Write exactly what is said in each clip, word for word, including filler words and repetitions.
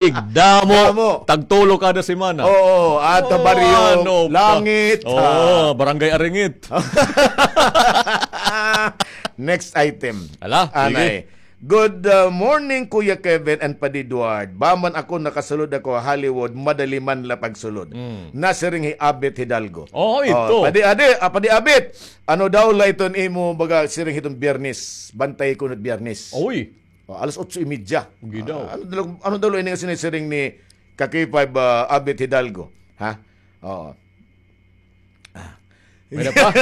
Damo. Damo. Tagtulo kada semana. Oo, at Oh, Barrio ano pa? Langit, Oo, ha? Barangay Aringit. Next item. Ala, sige. Anay. Good, uh, morning, Kuya Kevin and Padi Edward. Baman ako nakasulod ako ha Hollywood, madali man la pagsulod. Mm. Nasiring hi Abet Hidalgo. Oo, Oh, ito. Padi, adi, ah, Padi Abet. Ano daw la iton imo baga siring hiton Biyernes? Bantay ko na Biyernes. Uy. Oh, alas otso y media. Gidaw. Ah, ano daw, ano daw la ini nga sinisiring ni Ka K five, ah, Abet Hidalgo? Ha? Oo. Ah. May na pa?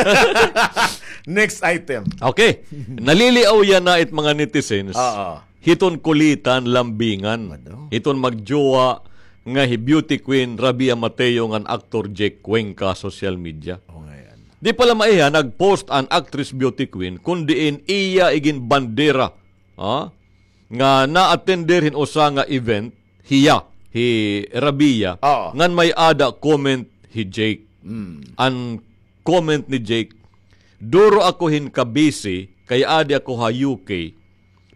Next item. Okay. Naliliaw yana it mga netizens. Oo. Hiton kulitan, lambingan. Ano? Hiton magjowa nga hi beauty queen Rabia Mateo ngan aktor Jake Cuenca social media. Oh, ngayon. Di pa la maiha nag-post an actress beauty queen, kun diin iya iginbandera, ha? Nga na-attender hin usa nga event, hiya, hi Rabia, Oo. ngan may-ada comment hi Jake. Mm. An comment ni Jake, "Duro ako hin ka-busy, kay adi ako ha U K.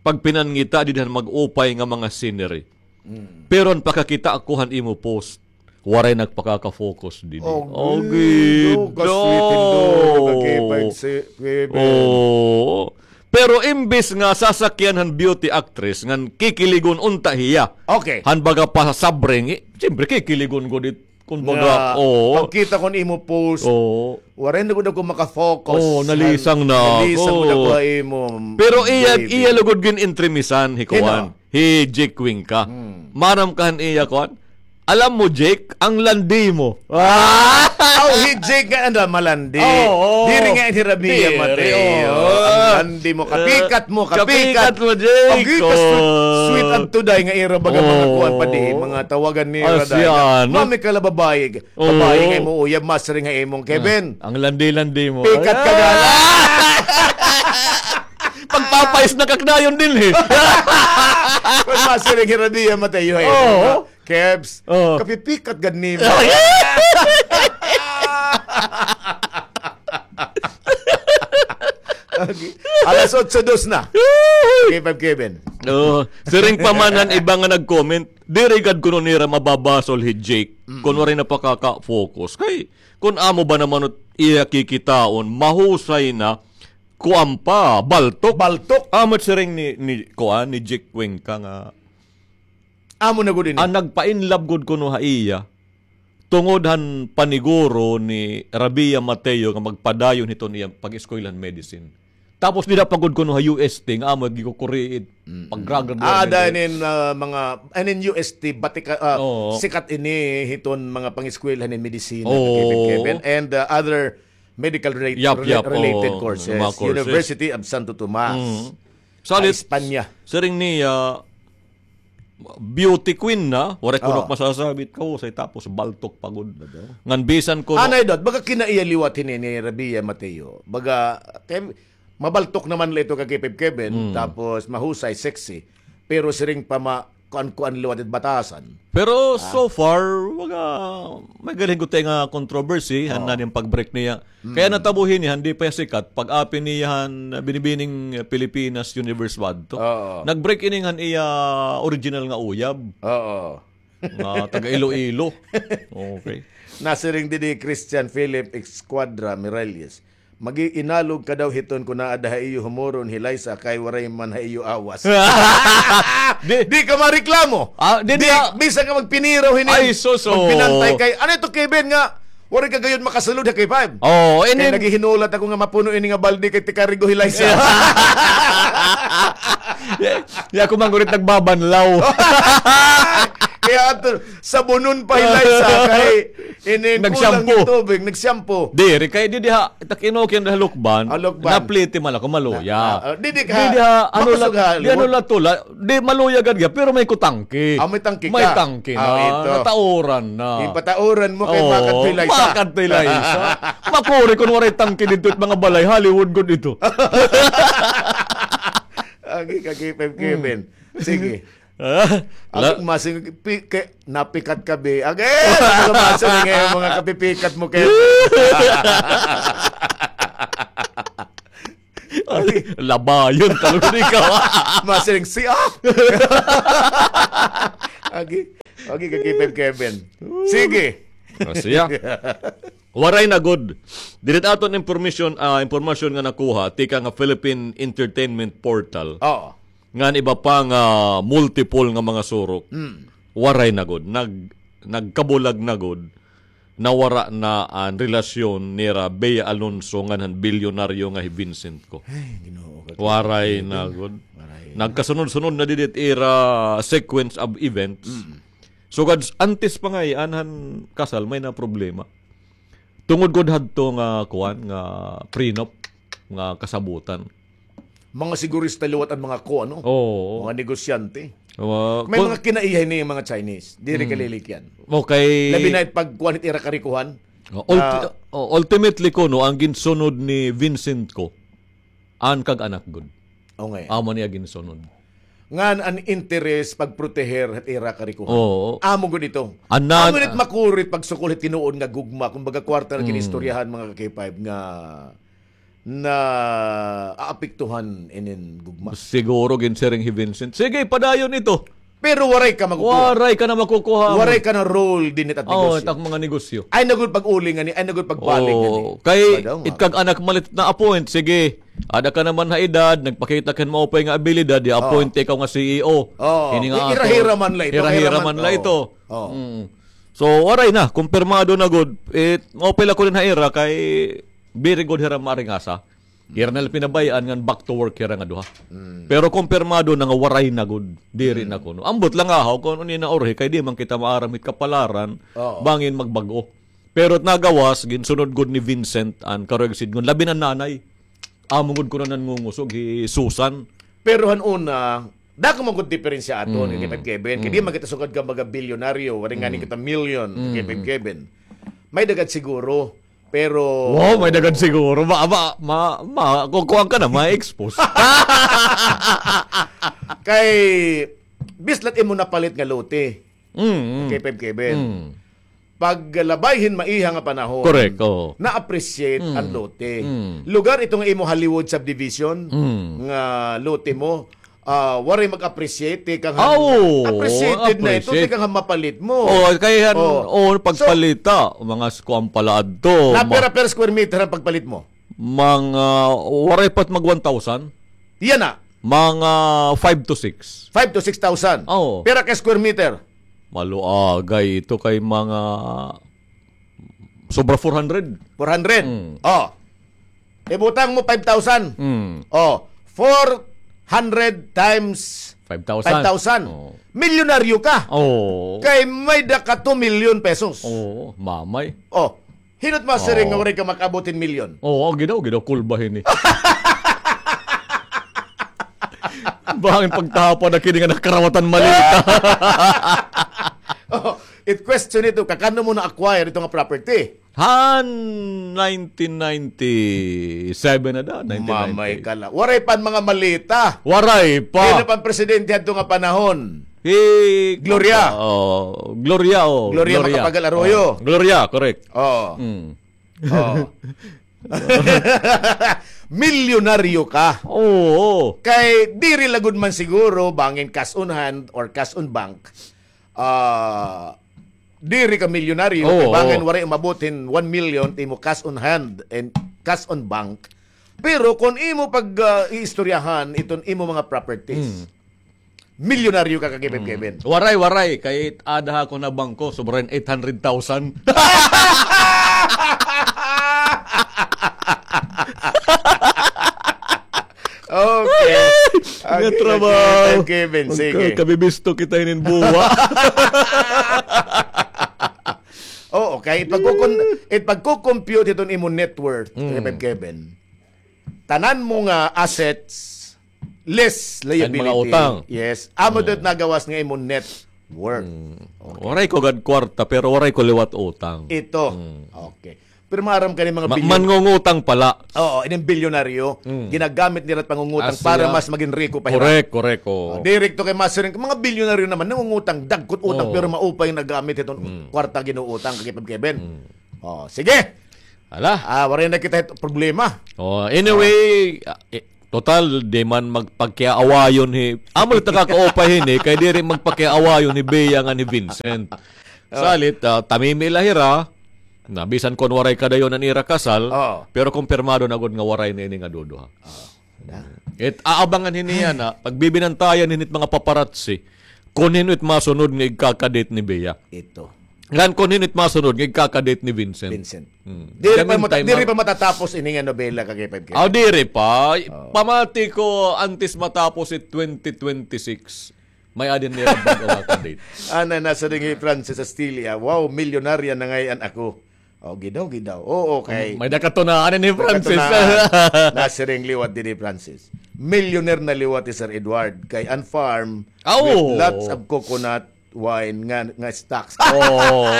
Pagpinangita didi han mag-upay nga mga scenery. Mm. Pero an pakakita ako han imo post, waray nagpakaka-focus didi." Oh, Oh, gid. Ka-sweet, Indo. Ka-K five si-, K five. Oo. Pero imbis nga sasakyan han beauty actress, ngan kikiligon unta hiya. Okay. Han baga pasabring, eh, siyempre, kikiligon gud it, kun baga, Nga, oo. pagkita ko han imo post, Oo. waray na gud ako maka-focus. Oo, nalisang na Nalisang ako. gud ako ha imo, Pero iya, baby. iya lugod gin-entremisan, hi Hino? kuan. Hi Jake Cuenca. Hmm. Maaram ka han iya, kuan? Alam mo, Jake, ang landi mo. Ah! Aw, hi Jake nga anda malandi. Oo. Diri nga hi Rabia Diri, Mateo. oo. Ang landi mo, kapikat mo, Eh, kapikat. kapikat mo, Jake. Ang gika, sweet, Oo. sweet adto day nga ira baga mga Oo. kuan pa di, mga tawagan ni Asya, Raday. no? Mami ka la babae. Oo. Babae nga imo uyab, masiring ha imong Kevin. Ah, ang landi-landi mo. Pikat ka Ah! gala. Pagpapais na kakdayon din eh. Kun masiring hi Rabia Mateo, eh. Oo. Kebs, Oo. kapipikat gad nimo. Okay. Alas otso dos na. K five Kevin. Oo. Siring pa man han iba nga nag-comment, diri gad kuno nira mababasol hi Jake Mm. kun waray na pakaka-focus. Kay, kun amo ba naman ot iya kikitaon, mahusay na, kuan pa, baltok. Baltok. Amo it siring ni, ni, kuan, ni Jake Cuenca nga Amo na gud ini. An nagpa-in love gud kuno ha iya, tungod han paniguro ni Rabia Mateo nga magpadayon hiton iya pag-eskwela han medicine. Tapos dida pa gud kuno ha U S T nga amo gikukuri it Mm-mm. paggraduate Ah, nila. dahil in, ah, mga, and in U S T, batika-, ah, Oo. sikat ini hiton mga pangeskwela ni medisina, Oo. Kevin, Kevin, and, ah, other medical rela-, Yap, rela-, yap, related oo, courses. mga courses. University of Santo Tomas. Mm. Salit, Espanya. siring niya, beauty queen na, waray kuno Oo. masasabi, kahusay, tapos baltok pa gud. Baga? Ngan bisan kuno Anay dot, baga kinaiya liwat hini ni Rabia Mateo. Baga, kay, mabaltok naman la ito ka K five Kevin, Mm. tapos mahusay, sexy. Pero siring pa ma-, kuan-kuan liwat it batasan. Pero Ah. so far, baga, may galing gud nga controversy, han Oo. na nin pag-break niya. Mm. Kaya natabo hini, han di pa sikat, pag-api niya han Binibining Pilipinas Universe wadto. Oo. Nag-break ini han iya original nga uyab. Oo. Nga taga Iloilo. Okay. Nasiring didi Christian Philip Escuadra Miralles. Mag-iinalog ka daw hiton kun aada ha iyo humuron hi Liza kay waray man ha iyo awas. Di, Di ka mareklamo. Ah, di, Di, di, ah. bisan ka magpiniraw hini. Ay, sus, oh. Magpinantay kay, ano ito, Kevin, nga waray ka gayod makasulod ha K five? Oh, Kay inin- naghihinulat ako nga mapuno ini nga balde kay tikarigo hi Liza. Ya, ya, ako man gurit nagbabanlaw. Kaya ato, sabunon pa hi Liza kay inin kulang Nag-shampoo. yung tubig, nag-shampoo. Diri, kay didi ha, tak-inokin da ha lukban, Ah, lukban. napliti man ako, maluya. Ah, ah, didi ka, Didi ha, ano la, makusog ha di ano Hollywood. la to la, di maluya gad gya, pero may kutangki. Ah, may tangki May ka. tangki Ah, na, ito. natauran na. Yung patauran mo kay Oo, makad pilay sa. makad pilay sa. Makuri kun waray tangki dito it mga balay, Hollywood gud ito. Agi ka, K five Kevin. Hmm. Sige. Ah, Ako, la- masing, pi-, ke-, napikat ka, be. Agi, ako, masing nga yung mga kapipikat mo, Kevin. Ay, labayon talaga ikaw. Masing si, ah! Okay, okay, ka K five Kevin. Sige. Ah, siya. Waray na gud. Diri aton information, ah, impormasyon nga nakuha, tikang ha Philippine Entertainment Portal. Oo. Ngan iba pa nga multiple nga mga surok. Mm. Waray na gud. Nag-, nagkabulag na gud. Nawara na an relasyon nira Bea Alonzo ngan han bilyonaryo nga hi Vincent Co. Ay, Ginoo ko. Waray na gud. Waray na. Nagkasunod-sunod na didi it ira sequence of events. Mm. Sugad s-, antes pa ngay-an han kasal, may na problema. Tungod gud hadto nga, kuan, nga prenup, nga kasabotan. Mga sigurista liwat an mga ko, ano? Oo. Mga negosyante. May mga kinaihay ni mga Chinese. Diri kalilikyan. Okay. Labi na it pagkuan it ira karikuhan. Oh, ulti-, oh, ultimately kuno, ang ginsunod ni Vincent Co, an kag-anak gud. Okay. Amo niya ginsunod. Ngan an interes pagproteher hit ira karikuhan. Oo. Amo gud ito. Amo nit makuri it pagsukol hit tinuod nga gugma, kumbaga kwarta na ginistoryahan, mga ka-K five, nga naaapektuhan inin gugma. Siguro ginsiring hi Vincent, "Sige, padayon ito." Pero waray ka makukuha. Waray ka na makukuha. Waray ka na role dinhi hit negosyo. Oo, it ak mga negosyo. Ay na gud pag-uli ngani, ay na gud pagbalik ngani. Oo, kay it kag-anak man la it na-appoint, sige. Ada ka naman ha edad, nagpakita ka hin maupay nga abilidad, i-appoint ikaw nga C E O. Oo. Ini nga ato. Hira-hira man la ito. Hira-hira man la ito. Oo. Mm. So, waray na, kumpirmado na gud. It, maupay la kuno ha ira kay very good hira maaringasa. Hira na la pinabay-an ngan back to work hira nga duha. Mm. Pero kumpirmado na nga waray na gud, diri na kuno. Ambot la nga haw kon ano ini naurhi kay di man kita maaram hit kapalaran, bangin magbag-o. Pero it nagawas, ginsunod gud ni Vincent an karuyag sidngon, labi na nanay. Amo gud kuno nangungusog hi Susan. Pero han una, dako man gud diferensya aton, Kevin, Kevin. Kay di man kita sugad ka mga bilyonaryo, waray ngani kita milyon, Kevin, Kevin. May dagad siguro, pero Wow, may dagad siguro. Ma, ma, ma, ma, kukuan ka na, ma-expose. Kay, bislat imo napalit nga lote. Mm, mm. Kevin, Kevin. Mm. Paglabay hin maiha nga panahon, correct, oo, na-appreciate an lote. Mm. Lugar ito nga imo Hollywood subdivision, nga lote mo, ah, waray mag-appreciate, tikang han, ah, oo, appreciated na ito, appreciate, tikang han mapalit mo. Oo, kay han, oo, pagpalita, mga s-, kuan pala adto. Na pira per square meter an pagpalit mo? Mga, waray pa it mag one thousand. Yana. Mga five to six. Five to six thousand. Oo. Pira ka square meter? Maluagay ito kay mga sobra four hundred. Four hundred? Mm. Oh. Ibutang mo five thousand. Mm. Oh. Four hundred times five thousand. Five thousand. Oo. Milyonaryo ka. Oo. Kay may-ada ka two million pesos. Oo, mamay. Oh. Hin-o it masiring nga waray ka makaabot hin milyon? Oo, ginaw, ginaw, kulba hini. Bangin pagtapad na kini nga nakarawatan malita. Oh, it question ito, kakano mo na-acquire ito nga property? Han nineteen ninety-seven na da, nineteen ninety. Mamay ka la. Waray pa an mga malita. Waray pa. Hin-o pa an presidente hadto nga panahon? Hi Gloria. Oh, Gloria, oh. Gloria Macapagal Arroyo. Oh, Gloria, correct. Oh. Mm. Oh. Milyonaryo ka. Oo. Kay diri la gud man siguro bangin cash on hand or cash on bank. Ah, diri ka milyonaryo, oo, kay bangin waray umabot hin one million it imo cash on hand and cash on bank. Pero kon imo pag, ah, iistoryahan iton imo mga properties, mm, milyonaryo ka, ka Kevin, mm, Kevin. Waray, waray. Kay ada ha ako na bangko, sobra hin eight hundred thousand. Okay. Nga trabaho. Kevin, sige. Kabibisto kita hinin buwa. Oo, kay it pagkukon-, it pagko-compute hiton imo net worth, mm, Kevin, Kevin, tanan mo nga assets, less liability. An mga utang. Yes. Amo, mm, it nagawas nga imo net worth. Mm. Okay. Waray ko gad kwarta, pero waray ko liwat utang. Ito. Mm. Okay. Pero maaram ka ni mga bilyon-, mangungutang pala. Oo, ining bilyonaryo, mm, ginagamit nira it pangungutang para mas magin riko pa hira. Correct, correct, oo. Oh, direkto kay masiring, mga bilyonaryo naman, nangungutang, dagko it utang, oo, pero maupay nagamit iton, mm, kwarta ginuutang, Kevin, Kevin. Mm. Oh, sige. Hala. Ah, waray na kita hit problema. Oh, anyway, ah, eh, Total, di man magpakiaawayon hi, amo la ta kakaupay hini, kay diri magpakiaawayon hi Bea ngan hi Vincent. Oh. Salit, ah, tamimi la hira, na bisan kon waray kadayon an ira kasal, oh, pero kumpirmado na gud nga waray na ini nga duduha. Oh. It aabangan hini yana, pagbibinantayan hini it mga paparazzi, kon hin-o it masunod nga igkaka-date ni Bea. Ito. Ngan kon hin-o it masunod nga igkaka-date ni Vincent. Vincent. Hmm. Diri pa mata-, diri pa matatapos ini nga nobela, ka K five K. Ah, diri pa. Oh. Pamati ko, antes matapos it twenty twenty-six, may-ada na hira bag-o nga ka-date. Ana, nasiring hi Francis Astilia, "Wow, milyonarya na ngay-an ako." Oh, gidaw, gidaw. Oo, kay may-ada katunaan ni Francis. May katunaan. Nasiring liwat dinhi, Francis. Millionaire na liwat hi Sir Edward. Kay an farm, ah, with lots of coconut, wine nga, nga stocks. Oo.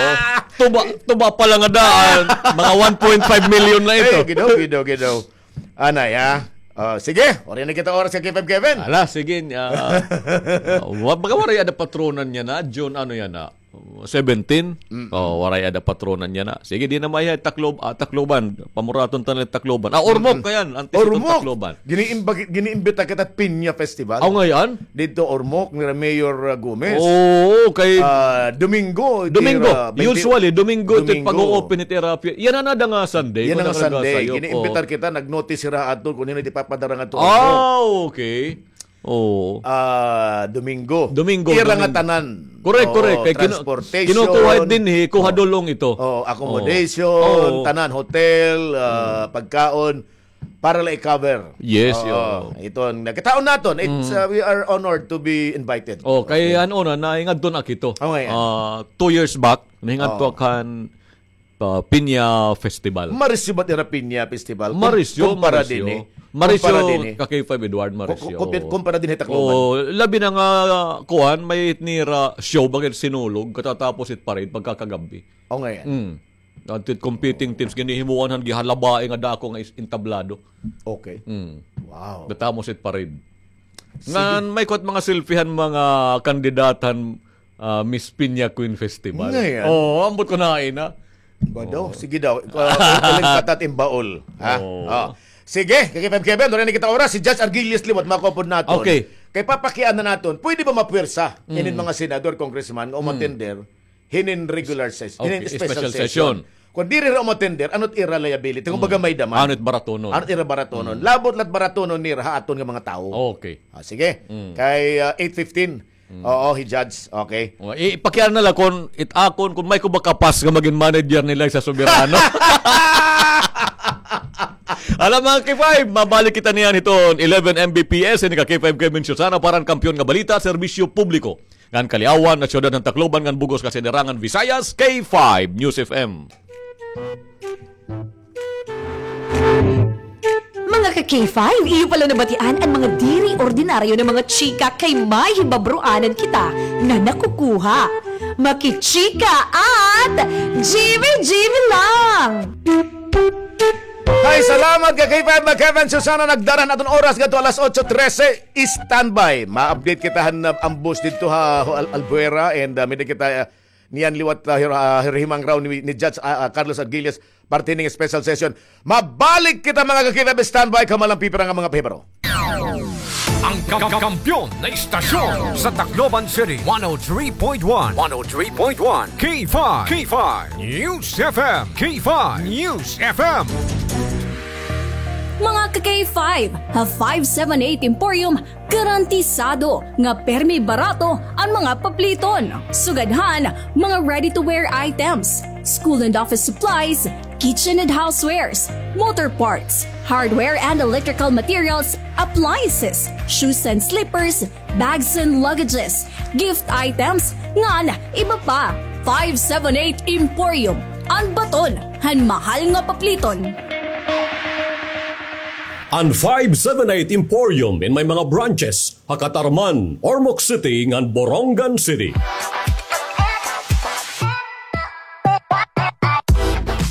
Tuba, tuba pa la nga daan, mga one point five million na ito. Ay, gidaw, gidaw, gidaw. Anay, ha? Oh, sige, waray na kita oras, ka K five Kevin. Ala, sige, ah, ah, wa-, baka waray ada patronan niya na, June, ano yana, seventeen? Mm. Oh, waray ada patronan niya na. Sige, di na maiha Taclob-, ah, Tacloban. Pamuraton ta na Tacloban. Ah, Ormoc, mm, kayan. Antes Ormoc. Tacloban. Giniimbagi-, giniimbita kita Piña Festival. Aw, ngay-an? Didto Ormoc, nira Mayor, uh, Gomez. Oo, kay, ah, Domingo, Domingo. Usually, Domingo ito pag-o-open it ira. Yana na da nga Sunday. Yana nga Sunday. Giniimbitar kita, nag-notice sira ato kung hin-o it ipapadara ngadto Ormoc. Ah, okay. Oo. Ah, Domingo. Domingo, ira nga tanan. Correct, correct. Kay kinu-, transportation, kinukuha dinhi, kuha dulong ito. Oo, accommodation, tanan, hotel, ah, pagkaon. Para la i-cover. Yes, oo. Iton, nakitaon naton, it's, uh, we are honored to be invited. Oh, kay ano na, nahingadto na ak ito. Okay. Ah, two years back, nahingadto ak han, ah, Piña Festival. Marisyo ba it ira Piña Festival? Marisyo, kumpara dinhi. Marisyo, ka K five Edward, marisyo. Kumpara dinhi Tacloban. Oh, labi na nga, kuan, may nira show, bakit Sinulog, katatapos it parade, pagkakagab-i. Okay. Mm. Adto it competing teams, ginhihimuan han gihalabai nga dako nga is-, entablado. Okay. Mm. Wow. Natapos it parade. Sige. Ngan may kuan mga selfie han mga kandidata han, ah, Miss Piña Queen Festival. Ngay-an. Oo, ambot ko na ina. Ba daw? Oo. Sige daw. Ikaw, ikaw lang patat in baol. Ha? Oo. Oh. Sige, ka K five Kevin, waray na kita oras. Si Judge Argilius liwat, makupod naton. Okay. Kay papakiana naton, pwede ba mapwersa inin mga senador, congressman, nga umatender hinin regular ses-, hinin special session. Kon diri hira umatender, ano it ira liability? Kumbaga may daman. Ano it baratonon? Ano it ira baratonon? Labot la it baratonon nira ha aton nga mga tawo. Okay. Ah, sige. Kay, ah, eight fifteen. Oo, hi Judge. Okay. Oh, i-, ipakiana na la kon it akon, kon may ko ba kapas nga magin manager nila sa Soberano. Ala, mga K five, mabalik kita niyan hiton eleven M B P S, ini ka K five Kevin Susana, para han kampiyon nga balita, serbisyo publiko. Ngan kaliawan nga syudad han Tacloban ngan bug-os nga sinirangan Visayas, K five News F M. Mga ka K five, iyo pala nabatian an mga diri ordinaryo nga mga chika kay may hibabroanan kita nga nakukuha. Makichika at G B G B lang! Hay, salamat ka K five, Kevin Susana, nagdara han aton oras ngadto alas otso trese. Standby. Ma-update kita han, uh, ambos didto ha, ha Al-, Albuera and, uh, may-ada kita, uh, niyan liwat, uh, hir-, uh, hirhimang raw ni, ni Judge, uh, uh, Carlos Argilius parte hining special session. Mabalik kita, mga ka K five, standby, kamo lang pipira nga mga pahibaro. Ang ka-, kampiyon na istasyon sa Tacloban City, one oh three point one. One oh three point one. K five. K five News F M. K five News F M. Mga ka K five, ha five seven eight Emporium, garantisado nga permi barato an mga papliton. Sugad han mga ready-to-wear items, school and office supplies, kitchen and housewares, motor parts, hardware and electrical materials, appliances, shoes and slippers, bags and luggages, gift items, ngan iba pa. Five seven eight Emporium, an baton han mahal nga papliton. An five seven eight Emporium in may mga branches ha Catarman, Ormoc City, ngan Borongan City.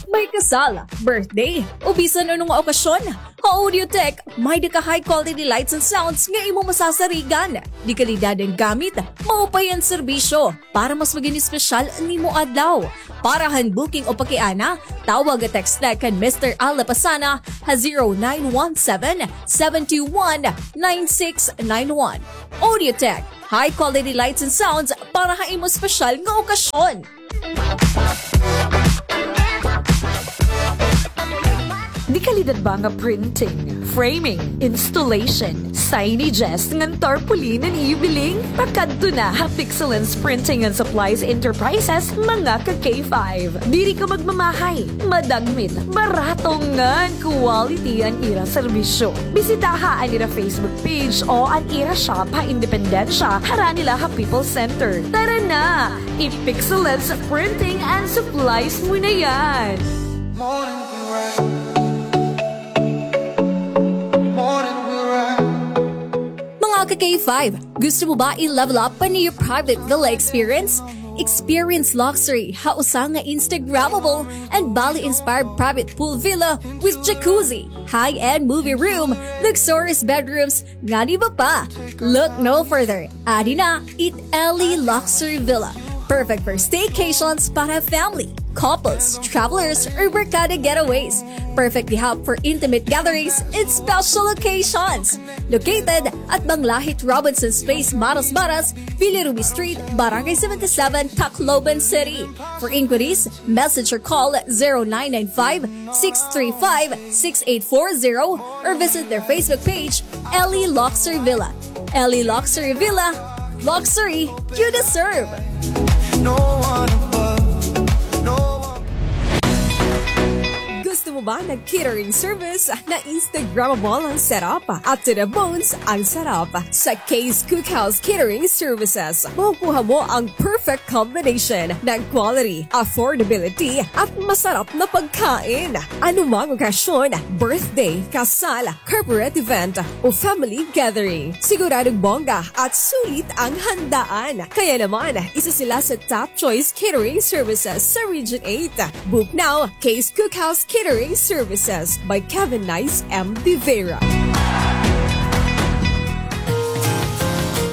May kasal, birthday, o bisan ano nga okasyon. Ha Audiotech, may-ada ka high quality lights and sounds nga imo masasarigan. Dekalidad an gamit, maupay an serbisyo. Para mas maging espesyal an imo adlaw. Para han booking o pakiana, tawag o text na kan Mister Al Lapasana ha zero nine one seven, seven two one, nine six nine one. Audiotech, high quality lights and sounds para ha imo espesyal nga okasyon. Dekalidad ba nga printing, framing, installation, signages ngan tarpaulin an iyo biling? Pakadto na ha Pixelance Printing and Supplies Enterprises, mga ka-K five. Diri ka magmamahay, madagmit, barato ngan quality an ira serbisyo. Bisitaha an ira Facebook page o an ira shop ha Independencia, harani la ha People's Center. Tara na! I-Pixelance Printing and Supplies mo na yan! Mga ka-K five, gusto mo ba i-level up an iyo private villa experience? Experience luxury ha usa nga Instagrammable and Bali-inspired private pool villa with jacuzzi, high-end movie room, luxurious bedrooms, ngan iba pa. Look no further. Adi na it Ellie Luxury Villa. Perfect for staycations para family, couples, travelers, or barkada getaways. Perfect gihap for intimate gatherings and special occasions. Located at Banglahit Robinson's Place, Marasmaras, Villa Ruby Street, Barangay seventy-seven, Tacloban City. For inquiries, message or call zero nine nine five, six three five, six eight four zero or visit their Facebook page, Ellie Luxury Villa. Ellie Luxury Villa, luxury you deserve. No one above, no one. Gusto mo ba ng catering service na Instagrammable ang setup at to the bones ang sarap? Sa Kay's Cookhouse Catering Services, makukuha mo ang perfect combination ng quality, affordability, at masarap na pagkain. Anumang okasyon, birthday, kasal, corporate event, o family gathering, siguradong bongga at sulit ang handaan. Kaya naman, isa sila sa top choice catering services sa Region eight. Book now, Kay's Cookhouse Catering Services by Kevin Nice M. De Vera.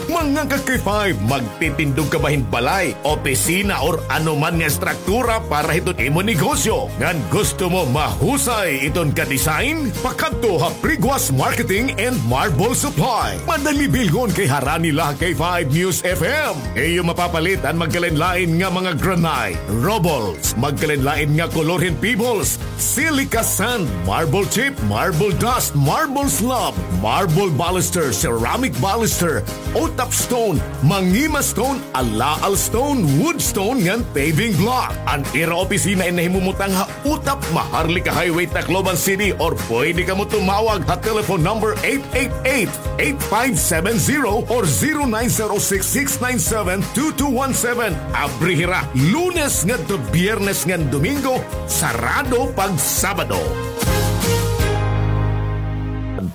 Mga ka-K five, magtitindog ka ba hin balay, opisina, or anuman nga estruktura para hiton imo negosyo? Ngan gusto mo mahusay iton ka-design? Pakadto ha Priguas Marketing and Marble Supply. Madali bilhon kay harani la ha K five News F M. Iyo mapapalit an magkalain-lain nga mga granite, rubbles, magkalain-lain nga kolor hin pebbles, silica sand, marble chip, marble dust, marble slab, marble baluster, ceramic baluster, utap stone, mangima stone, alaal stone, wood stone, ngan paving block. An ira opisina in nahimumutang ha Utap, Maharlika Highway, Tacloban City, or pwede kamo tumawag ha telephone number eight eight eight, eight five seven zero or zero nine zero six, six nine seven, two two one seven. Abri hira Lunes ngadto Biyernes ngan Domingo, sarado pag Sabado.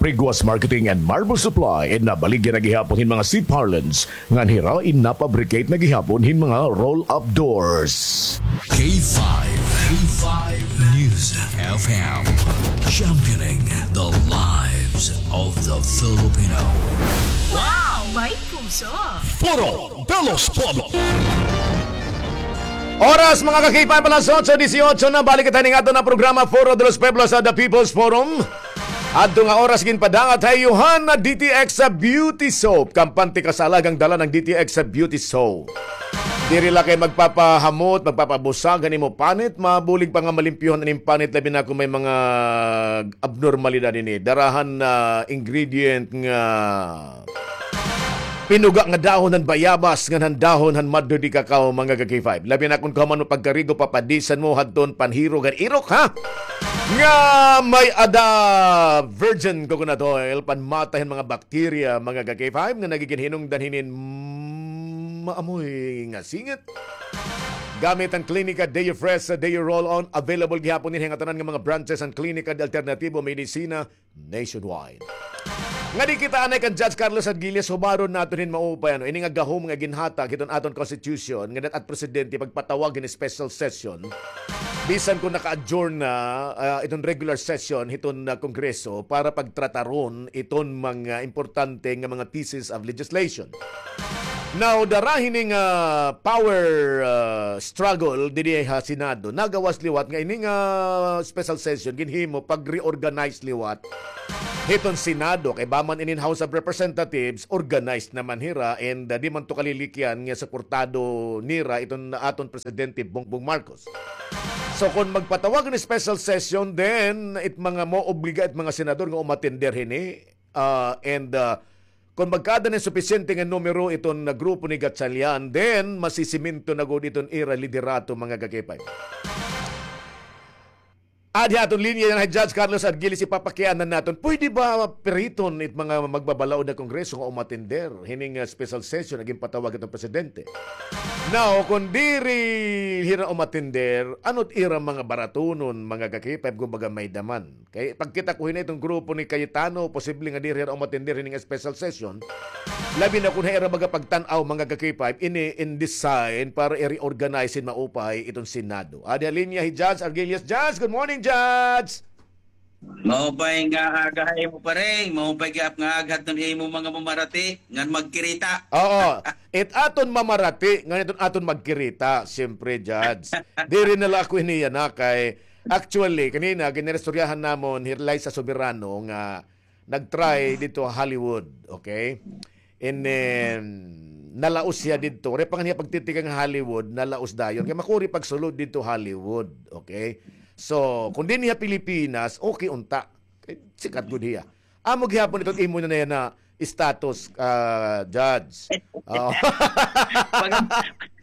Priguas Marketing and Marble Supply in nabaligya na gihapon hin mga seaparlance ngan hira in napabricate na gihapon hin mga roll-up doors. K five, K five News F M, championing the lives of the Filipino. Wow! May puso! Foro de los Pueblos. Oras, mga ka-K five, alas otso dieciocho na. Balik kita ning aton nga programa, Foro de los Pueblos, sa The People's Forum. Adto nga oras ginpadangat ha iyo han D T X Beauty Soap. Kampante ka sa alagang dala ng D T X Beauty Soap. Diri la kay magpapahamot, magpapabusag han imo panit, mabulig pa nga malimpyohan an imo panit, labi na kon may mga abnormalidad ini. Dara han, ah, ingredient nga pinuga nga dahon han bayabas ngan han dahon han mother de cacao, mga ka-K five. Labi na kon kahuman mo pagkarigo, papadisan mo hadton panhirog han irok, ha? Nga may-ada virgin coconut oil, panmatay han mga bakterya, mga ka-K five, nga nagiginhinungdan hinin maamoy nga singit. Gamit an Clinica Deo Fresh, Deo Roll-On, available gihapon ini ha ngatanan nga mga branches han Clinica de Alternativo Medicina nationwide. Ngadi kita anay kan Judge Carlos Argilles, hubaron naton hin maupay, ano, ini nga gahom nga ginhatag hiton aton constitution, nga dat-at presidente pagpatawag hin special session, bisan kon naka-adjourn na, ah, iton regular session hiton, ah, Kongreso para pagtrataron iton mga importante nga mga pieces of legislation. Now, dara hini nga power, ah, struggle dinhi ha Senado, nagawas liwat nga ini nga special session ginhimo pag-reorganize liwat hiton Senado, kay ba man inin House of Representatives, organized naman hira, and, ah, di man to kalilikyan nga suportado nira iton aton Presidente Bongbong Marcos. So, kon magpatawag hin special session, then it mga maobliga it mga senador nga umatender hini, ah, and, ah, kon magkaada hin supisyente nga numero iton, ah, grupo ni Gatchalian, then masisiminto na gud iton ira liderato, mga ka-K five. Adi ha aton linya yana hi Judge Carlos Argilis, ipapakiana naton. Pwede ba piriton it mga magbabalaod nga Kongreso nga umatender hining, ah, special session nga ginpatawag hiton presidente? Now, kon diri hira umatender, ano it ira mga baratunon, mga ka-K five, kumbaga may-da man? Kay pagkita ko hini iton grupo ni Cayetano, posible nga diri hira umatender hining special session. Labi na kon ha ira baga pagtan-aw, mga ka-K five, ini in design para i-reorganize hin maupay iton Senado. Adi ha linya hi Judge Argilius. Judge, good morning, Judge! Maupay nga aga ha imo, pare. Maupay gihap nga aga hiton imo mga mamarati ngan magkirita. Oo. It aton mamarati ngan iton aton magkirita, siyempre, Judge. Diri na la ako hini yana kay, actually, kanina, giniristoryahan namon hi Liza Soberano nga nag-try didto ha Hollywood, okay? And then, nalaos hiya didto. Waray pa ngani hiya pagtitikang ha Hollywood, nalaos dayon. Kay makuri pagsulod didto Hollywood, okay? So, kon dinhi ha Pilipinas, okay unta. Kay sikat gud hiya. Amo gihapon iton imo na yana status, ah, Judge. Oo. Pag,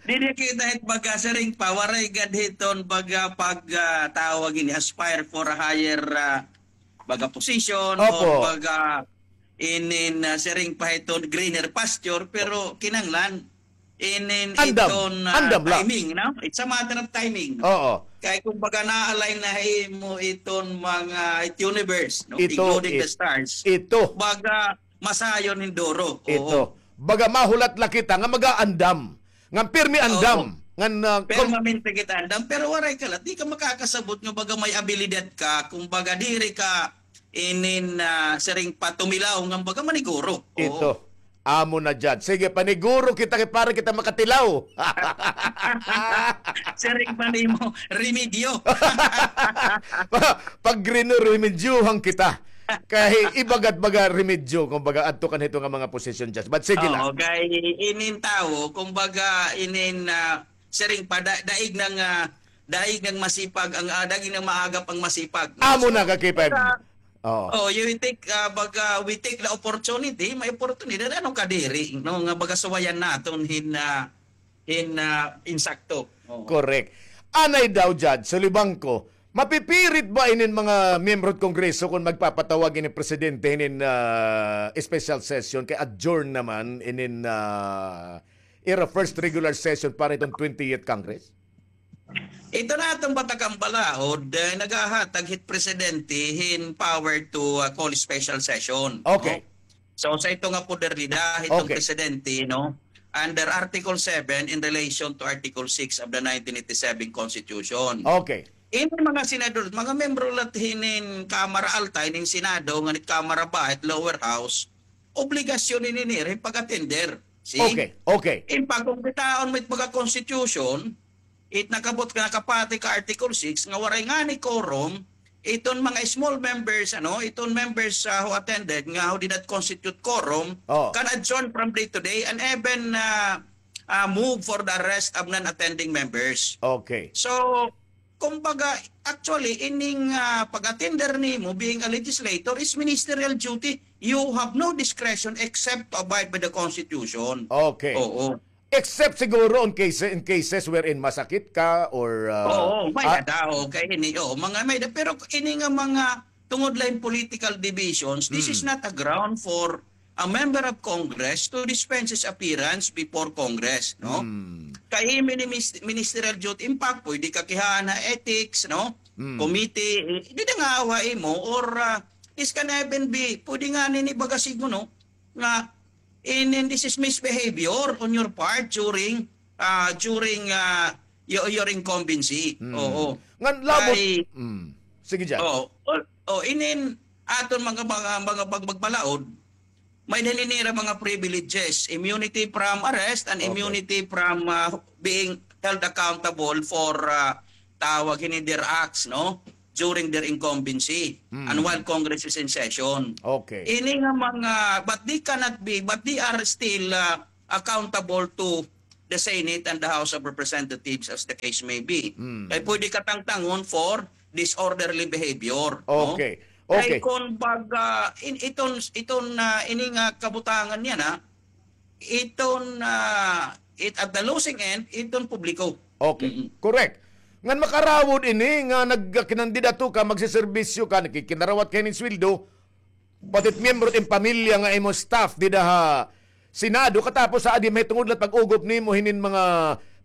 diri kita hit baga siring pa, waray gad hiton baga pag, ah, tawag ini, aspire for a higher, ah, baga position, opo, or baga inin, ah, siring pa hiton greener pasture, pero kinahanglan inin, andam, iton, ah, andam la, timing, no? It's a matter of timing. Oo. Kay kumbaga na-align na ha imo iton mga, it universe, no? Ito, including the stars. Ito. Baga masayon hin duro. Oo. Ito. Baga mahulat la kita nga mag-aandam. Ngan pirmi andam. Oo. Ngan, ah, permanente kita andam, pero waray ka la, di ka makakasabot nga baga may abilidad ka, kumbaga diri ka inin, ah, siring pa tumilaw nga baga maniguro. Oo. Ito. Amo na, Judge. Sige, paniguro kita kay para kita makatilaw. Siring pa nimo, remedyo. Pag greener, remedyohan kita. Kay iba gad baga remedyo, kumbaga, adto kan hito nga mga posisyon, Judge. But sige la. Oo, kay inin tawo, kumbaga, inin, ah, siring pa, da-, daig nang, ah, daig nang masipag, ang, ah, daig nang maagap ang masipag, no? Amo na, so, ka-K five. Baga, oo, oh, you take, ah, baga, we take the opportunity, may oportunidad, ano kadiri, no? Nga baga suwayan naton hin, ah, hin, ah, insakto. Oo. Correct. Anay daw, Judge, sulibang ko, mapipirit ba inin mga miyembro hit Kongreso kon magpapatawag ini presidente hinin, ah, special session kay adjourn naman inin, ah, ira first regular session para iton twentieth Congress? Ito na aton batakang balaod, eh, nagahatag hit presidente hin power to, ah, call special session, no? Okay. So, sa ito nga poder nira, hiton presidente, no? Under Article seven in relation to Article six of the nineteen eighty-seven Constitution. Okay. Ini mga senador, mga miyembro la hinin Kamara Alta, hinin Senado, ngan it Kamara Baha, it lower house, obligasyon ini nira hin pag-attender. See? Okay, okay. In pag-, kon kitaon mo it pagka-constitution, it nakabot ka, nakapati ka Article six, nga waray ngani quorum, iton mga small members, ano, iton members, ah, who attended, nga who did not constitute quorum, oh, can adjourn from day to day and even, ah, ah, move for the arrest of non-attending members. Okay. So, kumbaga, actually, ining, ah, pag-attender nimo, being a legislator, is ministerial duty. You have no discretion except to abide by the Constitution. Okay. Oo. Except siguro on case, in cases wherein masakit ka or, ah, oo, may-ada, okay, ini, oo, mga may-ada. Pero ini nga mga tungod la hin political divisions, this is not a ground for a member of Congress to dispense his appearance before Congress, no? Hmm. Kay imo ini mis-, ministerial duty, in fact, pwede ka kihaan ha ethics, no? Hmm. Committee, eh, dida ngaawa imo or, ah, this can even be, pwede nga ini baga siguro, no, nga in, in this is misbehavior on your part during, ah, during, ah, your, your incumbency. Oo. Ngan labot. Kay, mm. Sige, Judge. Oo. O, o, inin aton mga, mga, mga pagmagmalaod, may-ada ini ira mga privileges, immunity from arrest and immunity from, ah, being held accountable for, ah, tawag hini, their acts, no? During their incumbency and while Congress is in session. Okay. Ini nga mga, but they cannot be, but they are still, ah, accountable to the Senate and the House of Representatives as the case may be. Kay pwede ka tangtangon for disorderly behavior, no? Okay. Kay kon baga, in, iton, iton, ah, ini nga kabutangan niya na, iton, ah, it, at the losing end, iton publiko. Okay. Correct. Ngan makarawod ini nga nagkinandidato ka, magseserbisyo ka, nakikinarawat ka hinin sweldo, pati it miyembro it im pamilya nga imo staff dida ha Senado, katapos ha adi mahitungod la it pag-ugop nimo hinin mga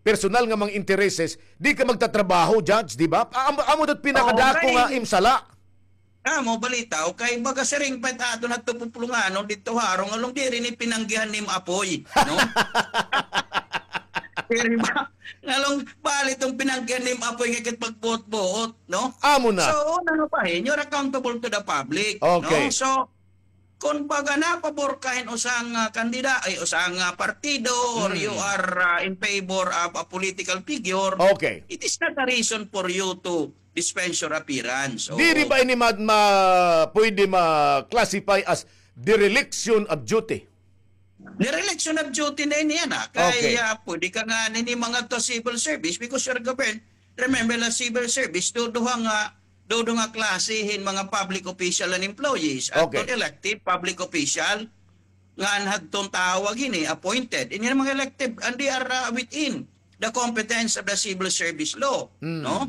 personal nga mga intereses, di ka magtatrabaho, Judge, di ba? Amo, amo daw it pinakadako nga im sala. Amo, balitaw, kay baga siring pa it aton hadto pupulunganon didto ha harong, ngan diri ini pinanggihan nim apoy, no? Diri ba? Ngan bali iton pinanggihan nim apoy nga kit pagbuot-buot, no? Amo na. So, una nga bahin, you're accountable to the public, no? Okay. So, kon baga napabor ka hin usa nga kandida-, ay, usa nga partido, or you are, ah, in favor of a political figure, okay, it is not a reason for you to dispense your appearance. Oo. Diri ba ini ma-, ma-, pwede ma-classify as dereliction of duty? Dereliction of duty na ini yana. Kay, okay, ah, pwede ka ngani mangadto ha civil service because you're governed. Remember la civil service, duduha nga, duduha nga klase hin mga public official and employees. Adton, okay, elected public official, ngan hadton tawag ini, appointed. Ini nga mga elected, and they are, ah, within the competence of the civil service law, no?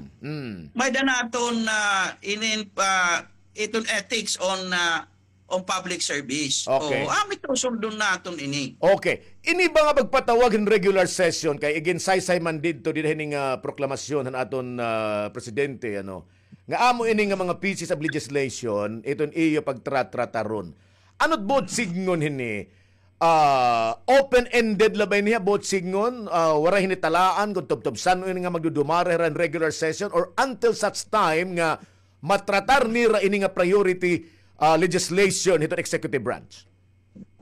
May-ada naton, ah, inin pa, iton ethics on, ah, on public service. Okay. O, amo it susundon naton ini. Okay. Ini ba nga pagpatawag hin regular session kay iginsaysay man didto dinhi hini nga proklamasyon han aton, ah, presidente, ano, nga amo ini nga mga pieces of legislation, iton iyo pagtratrataron. Ano it buot sidngon hini? Ah, open-ended la ba ini ha buot sidngon? Ah, waray hini talaan kon tubtob san-o ini nga magdudumara hira hin regular session or until such time nga matratar nira ini nga priority, ah, legislation hiton executive branch?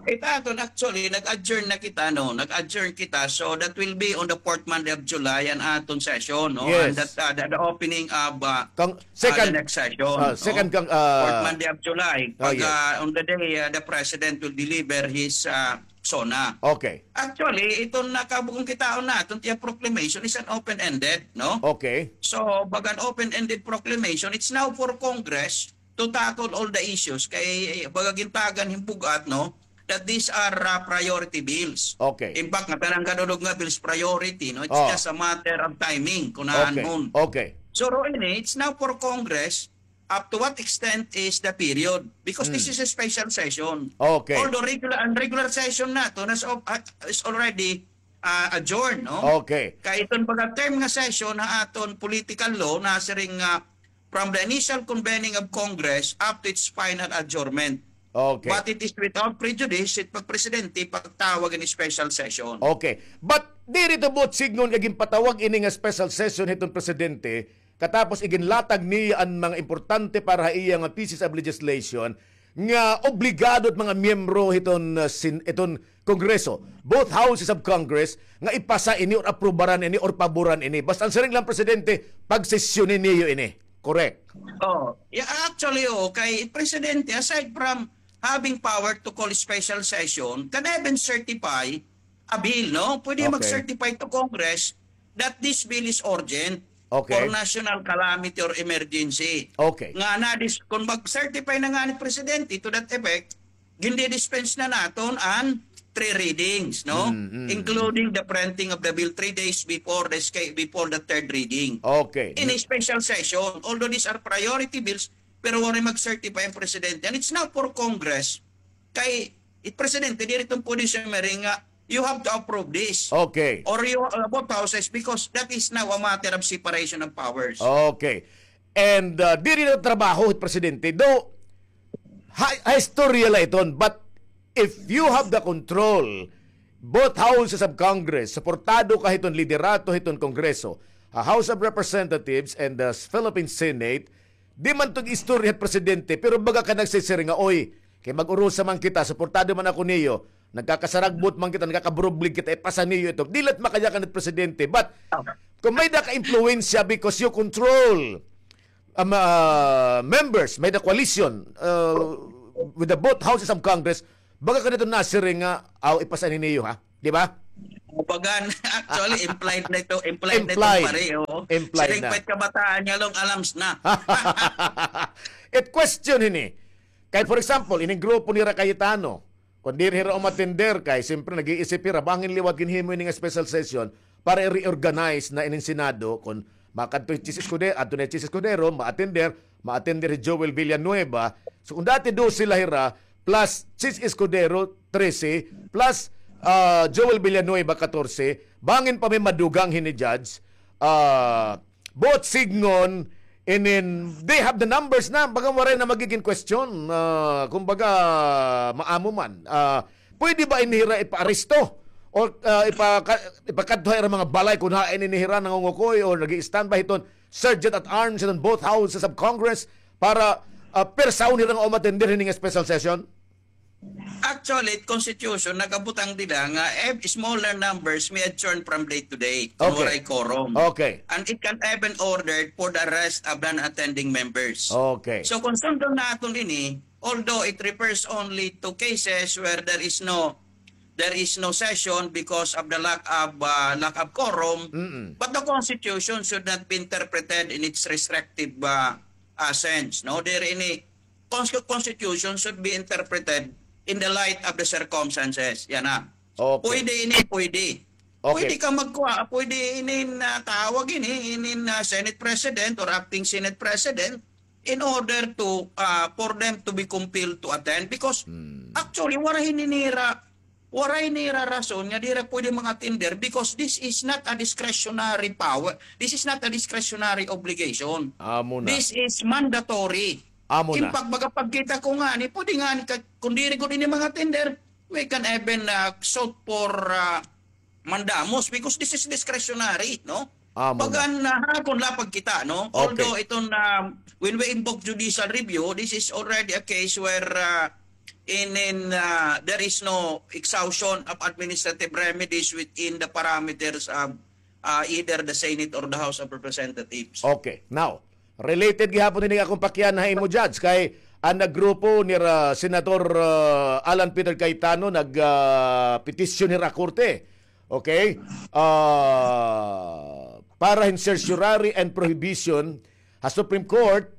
It aton, actually, nag-adjourn na kita, no? Nag-adjourn kita. So, that will be on the fourth Monday of July an aton session, no? Yes. And that, uh, the, the opening of, uh, uh, the next session, no? Second, uh, second, uh, fourth Monday of July. Pag, uh, on the day, uh, the president will deliver his, uh, SONA. Okay. Actually, iton nakabugong kitaon naton, it iya proclamation is an open-ended, no? Okay. So, pag an open-ended proclamation, it's now for Congress to tackle all the issues. Kay, baga gintagan hin bug-at, no, that these are, uh, priority bills. Okay. In fact, ngatanan kadudog nga bills priority, no? It's just a matter of timing, kon aanhon. Okay. So, ro ini, it's now for Congress up to what extent is the period? Because this is a special session. Okay. Although regular, an regular session naton has al-, is already, uh, adjourned, no? Okay. Kay iton baga term nga session ha aton political law nasiring nga from the initial convening of Congress up to its final adjournment. Okay. But it is without prejudice it pagpresidente pagtawag hin special session. Okay. But diri ito buot sidngon nga ginpatawag ini nga special session hiton presidente katapos iginlatag niya an mga importante para ha iya nga pieces of legislation nga obligado it mga miyembro hiton, uh, sin-, iton Kongreso, both houses of Congress, nga ipasa ini or aprubaran ini or paboran ini. Basta an siring la han presidente, pagsesyoni niyo ini. Correct. Oh, yeah, actually, oo, kay presidente, aside from having power to call special session, can even certify a bill, no? Pwede mag-certify to Congress that this bill is urgent or national calamity or emergency. Okay. Nga na, this, kon mag-certify na ngani presidente to that effect, gindi-dispense na naton an three readings, no? Including the printing of the bill three days before the sca-, before the third reading. Okay. In a special session, although these are priority bills, pero waray mag-certify an presidente. And it's now for Congress. Kay, it presidente, diri iton pwede summary nga, you have to approve this. Okay. Or you, uh, both houses, because that is now a matter of separation of powers. Okay. And, uh, diri na trabaho it presidente. Though, ha, ha istorya la iton, but if you have the control, both houses of Congress, suportado ka hiton liderato hiton Kongreso, ha House of Representatives and the Philippine Senate, di man tog istorya hit presidente, pero baga ka nagsisiring nga, "Oy, kay mag-urusa man kita, suportado man ako niyo, nagkakasaragbot man kita, nagkakaburublig kita, ipasa niyo ito." Di la't makayakan hit presidente. But kung may da ka impluwensya because you control um, uh, members, may the coalition uh, with the both houses of Congress, baga ka nito nasiring nga, "Aw, ipasa ini niyo, ha?" Di ba? Bagan, actually, implied na ito. Implied, implied na ito, pare. Oh. Implied na. Pwede kabataan niya long alams na. It question hini. Kay, for example, ining grupo ni Cayetano, kung diri hira umatender kay, siyempre, nag-iisip hira, bangin liwat ginhimo ini nga special session para i-reorganize na inin Senado, kung makadto hi Chiz Escudero, adto na hi Chiz Escudero, ma-attender, ma-attender hi Joel Villanueva. So, kung dati dose la hira, plus Chiz Escudero, trese, plus uh, Joel Villanueva, katorse, bangin pa may madugang hini judge, uh, both sidngon, inin, they have the numbers na, baga waray na magiging question, uh, kumbaga, maamo man. Uh, pwede ba ini hira ipaaresto? O uh, ipaka, ipakadto ha ira mga balay kung hain ini hira nangungukoy o nag-i-standby hiton sergeant at arms hiton both houses of Congress para uh, persahon hira nga umatender hini nga special session? Actually, it constitution, nakabutang dida nga if smaller numbers may adjourn from day to day kung waray quorum. Okay. And it can even ordered for the arrest of non-attending members. Okay. So kung sundon naton ini, although it refers only to cases where there is no there is no session because of the lack of uh, lack of quorum, Mm-mm. but the constitution should not be interpreted in its restrictive uh, uh, sense. No, there any constitution should be interpreted in the light of the circumstances. Yana. Okay. Pwede ini, pwede. Okay. Pwede ka magkuha, pwede inin uh, tawag ini, inin uh, Senate President or Acting Senate President in order to uh, for them to be compelled to attend because hmm. actually waray ini nira waray nira rason nga dira pwede mga attender because this is not a discretionary power. This is not a discretionary obligation. Amo na. This is mandatory. Amo na. Kin pagbaga pagkita ko nga ni pwede nga ni kung diri ko din mga attender, we can even uh, sought for uh, mandamos because this is discretionary, no? Amo na. Bagan na ha, kung lapag kita, no? Okay. Although ito na, when we invoke judicial review, this is already a case where uh, in, in uh, there is no exhaustion of administrative remedies within the parameters of uh, either the Senate or the House of Representatives. Okay. Now, related gihapon ini akong pakiana ha imo, Judge, kay an grupo ni uh, Senator uh, Alan Peter Cayetano nag uh, petition hira korte. Okay? Uh, para hin certiorari and prohibition ha Supreme Court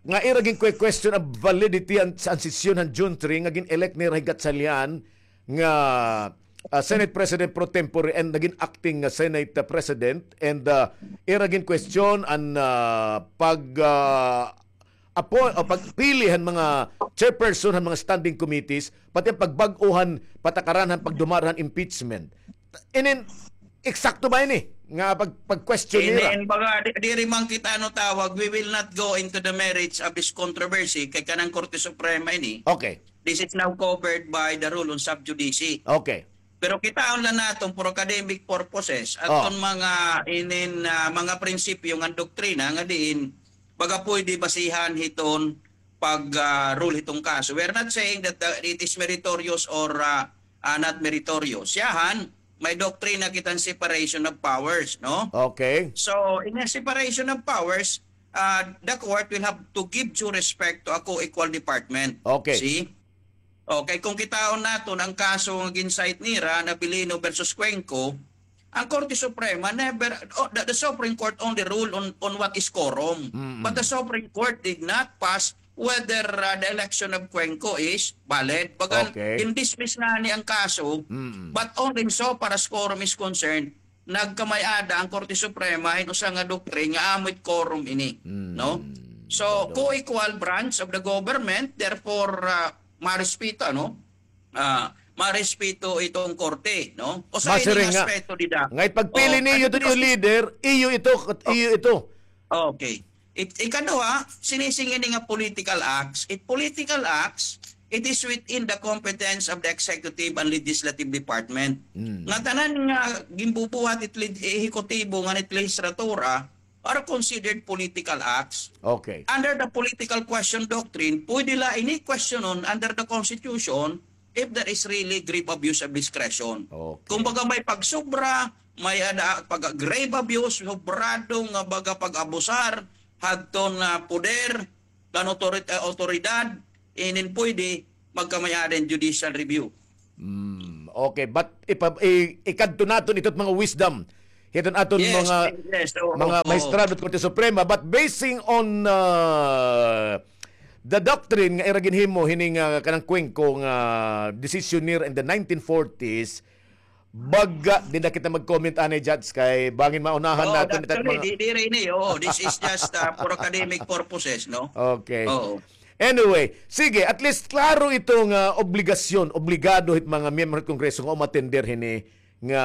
nga ira gin-question an validity an, an sesyon han June three nga gin-elect nira hi Gatchalian nga uh, Senate President pro tempore and naging acting nga Senate uh, President and uh, ira gin-question an uh, pag uh, appoint o pagpili han mga chairperson han mga standing committees pati an pagbag-o han patakaran han pagdumara han impeachment. Inin eksakto ba ini nga pag pag-question nira? Inin baga di, diri man kita ano tawag, we will not go into the merits of this controversy kay kanang Korte Suprema ini. Okay. This is now covered by the rule on sub judice. Okay. Pero kitaon la naton for academic purposes aton mga inin uh, mga prinsipyo ngan doktrina nga diin baga pwede basihan hiton pag uh, rule hiton kaso. We're not saying that uh, it is meritorious or uh, uh, not meritorious. Siyahan, may doktrina kitan separation of powers, no? Okay. So, in a separation of powers, uh, the court will have to give due respect to a co-equal department. Okay. See? Okay, kung kitaon naton ang kaso nga gin-cite nira, Nabilino versus Cuenco, ang Korte Suprema never, oh, the, the Supreme Court only rule on, on what is quorum. Mm-hmm. But the Supreme Court did not pass whether uh, the election of Cuenco is valid. Bagan, okay. In-dismiss na ni ang kaso, mm-hmm. But only so far as quorum is concerned, nagkamay-ada ang Korte Suprema hin usa nga doctrine nga amo it quorum ini, mm. No? So, okay. Co-equal branch of the government, therefore uh, marespeto, ano? Uh, marespeto iton korte, no? O sa ini nga aspeto dida. Nga ipagpili oh, niyo ito, leader, iyo ito, iyo ito. Okay. It, ikaduha, sinising ini nga political acts. It political acts, it is within the competence of the executive and legislative department. Mm. Nga tanan nga ginbubuhat it leg-, ehekutibo ngan it lehislatura are considered political acts. Okay. Under the political question doctrine, pwede la ini questionon under the Constitution if there is really grave abuse of discretion. Okay. Kumbaga may pagsobra, may ada, pag grave abuse, sobrado nga baga pag-abusar hadton, ah, poder, kan otorit-, ah, otoridad, inin pwede magkamay-ada hin judicial review. Mm, okay, but ipa-, i-, ikadto naton ito mga wisdom hiton aton Yes, mga yes, oo, mga oo. Mahistrado at Korte Suprema, but basing on, uh, the doctrine nga ira ginhimo hini nga kanang Cuenco nga decisionaire in the nineteen forties, baga, di na kita mag-comment anay, Judge, kay bangin maunahan Oo, naton it actually, mga di, diri ini, oo, this is just, uh, for academic purposes, no? Okay. Oo. Anyway, sige, at least klaro ito nga obligasyon, obligado hit mga miyembro hit Kongreso nga umatender hini nga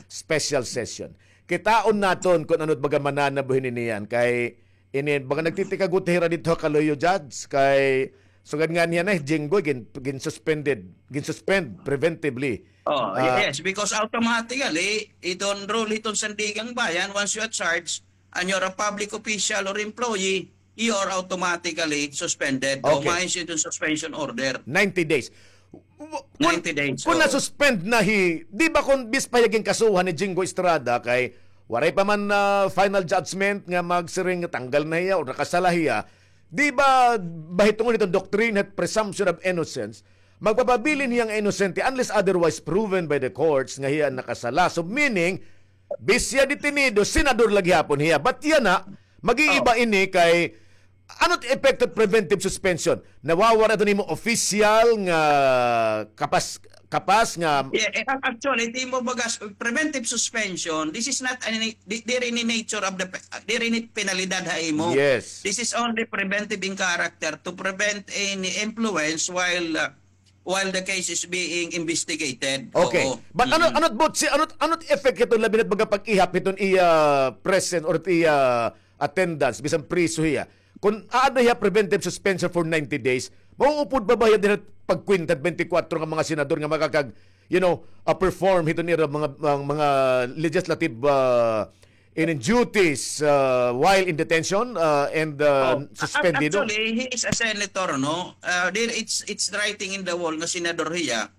special session. Kitaon naton kon ano it baga mananabo hini niyan kay ini baga nagtitikagot hira didto ha Kaloy-o, Judge, kay sugad nga niya na, Jinggoy, gin-, gin-suspended, gin-suspend preventively. Oh, Ah, yes, because automatically, iton rule hiton Sandiganbayan, once you are charged and you're a public official or employee, you are automatically suspended. O, Okay. Maayo iton suspension order. Ninety days. W-, kun, Ninety days, kun oo. Na-suspend na hi, di ba kun bis pa hiya ginkasuhan ni Jinggoy Estrada kay waray pa man, ah, final judgment nga magsiring nga tanggal na hiya o nakasala hiya, di ba, bahitungod hiton doctrine hit presumption of innocence, magpapabilin hiya nga inosente unless otherwise proven by the courts nga hiya nakasala. So, meaning, bis hiya detenido, senador la gihapon hiya. But yana, mag-iiba Oh. ini kay, ano it effect of preventive suspension? Nawawara ito nimo official nga kapas-, kapas nga Yeah, eh, ac-, actually, di mo bagas, preventive suspension, this is not any, di, diri ni nature of the pe-, diri ni penalidad ha imo. Yes. This is only preventive in character to prevent any influence while, uh, while the case is being investigated. Okay. Oo. But ano, Mm. ano it buot si, ano, ano it effect hiton labi na it baga pag-ihap hiton iya presence or iya attendance bisan priso hiya? Kun aada hiya preventive suspension for ninety days, mauupod pa ba hiya dinhi pagkwenta it twenty-four nga mga senador nga makakag, you know, uh, perform hiton ira mga, mga, mga legislative, uh, in duties, uh, while in detention, uh, and, uh, Oh, a-, suspendido? Actually, he is a senator, no? Uh, there, it's, it's writing in the wall nga senador hiya.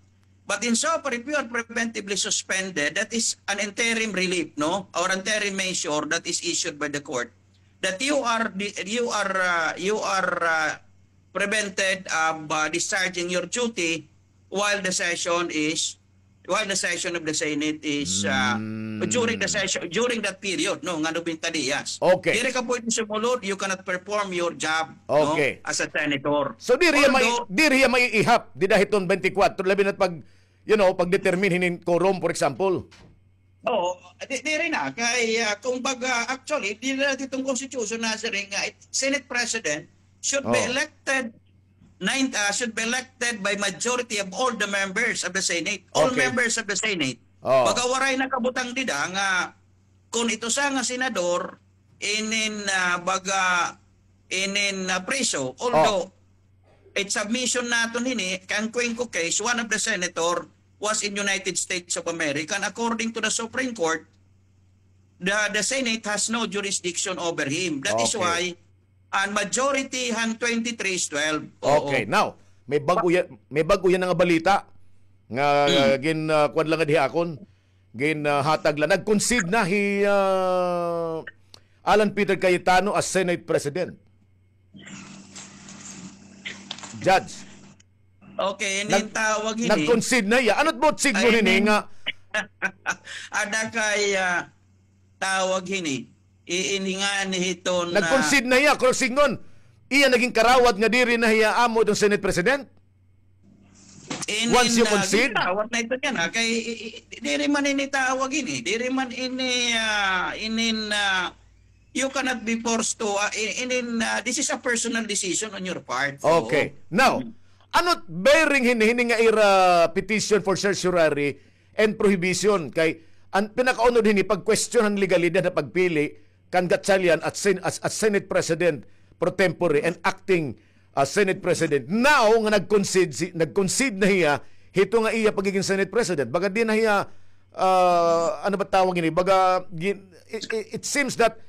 But in so far, if you are preventively suspended, that is an interim relief, no? Or interim measure that is issued by the court. That you are di-, you are, uh, you are, uh, prevented of, uh, discharging your duty while the session is, while the session of the Senate is, uh, Mm. during the session, during that period, no, nga nobenta dias. Okay. Diri ka pwede sumulod, you cannot perform your job, no, Okay. as a senator. So, diri hiya mai-, Although diri hiya maiihap, dida hiton twenty-four, labi na pag, you know, pag-determine hinin quorum, for example. Oo, di, diri na. Kay, ah, kumbaga, actually, diri na hiton constitution nasiring nga it-, Senate President should be Oh. elected nine, ah, should be elected by majority of all the members of the Senate. All Okay. members of the Senate. Oh. Baga waray nakabutang dida nga kun it usa nga senador inin, ah, baga inin, ah, priso. Although, Oh. it submission naton hini, kay an Cuenco case, one of the senator was in United States of America. And according to the Supreme Court, the, the Senate has no jurisdiction over him. That is Okay. why an majority han twenty-three is twelve. Oo. Okay, now, may bag-o ya-, may bag-o yana nga balita nga Hmm. gin, ah, kuwan la ngadi ha akon, gin, ah, hatag la. Nag-concede na hi, ah, Alan Peter Cayetano as Senate President. Judge. Okay, ini Nag-, tawag hini. Nag-concede na hiya. Ano it buot signo Ay, hini ini. nga? Ada kay, ah, tawag hini. Iinhingan hiton, ah, Nag-concede na hiya, kurang sidngon. Iya naging karawat nga diri na hiya amo iton Senate President? Inin, Once you ah, concede? Karawat na ito niyan, ah. Kay, i-, i-, diri man ini tawag ini. Diri man ini, ah, inin, ah, you cannot be forced to, ah, i-, inin, ah, this is a personal decision on your part. Oo. Okay. Now, Mm. ano bearing hini, hini nga ira petition for certiorari and prohibition? Kay, an pinakaunod hini, pag-question han legalidad ha pagpili, kan Gatchalian as, sen- as, as Senate President pro tempore and acting, ah, Senate President. Now nga nag-concede, si, nag-concede na hiya hito nga iya pagiging Senate President. Baga di na hiya, ah, ano ba tawag ini? Baga, gin- it, it, it seems that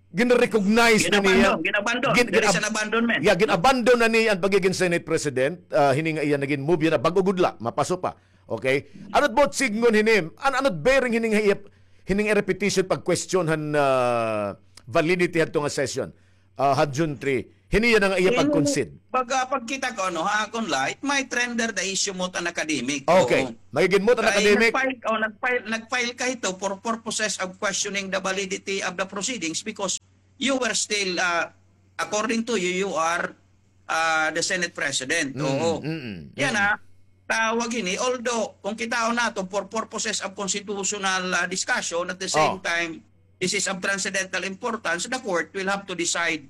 gin-recognize na niya. Gin-abandon, gin-abandon. Gin- There is gin-ab- an abandonment. Yeah, gin-abandon na niya an pagiging Senate President. Ah, hini nga iya nagin move, yana, bag-o gud la, mapaso pa. Okay? Ano it both sidngon hini? An-, ano it bearing hini nga iya, hini nga repetition pag-question han, ah, validity hadto nga session? Ah, han June three. Hini yana nga iya pag-concede. Pag, ah, pagkita ko, ano, ha, akon la, it might render the issue moot and academic. Okay. Oo. Magigin moot and academic. Kay nag-file, oh, nag-file, nag-file ka hito for purposes of questioning the validity of the proceedings because you were still, ah, according to you, you are, ah, the Senate President. Mm, oo. Mm, mm. Yana, tawag ini, although, kung kitaon naton, for purposes of constitutional, ah, discussion, at the same time, this is of transcendental importance, the court will have to decide,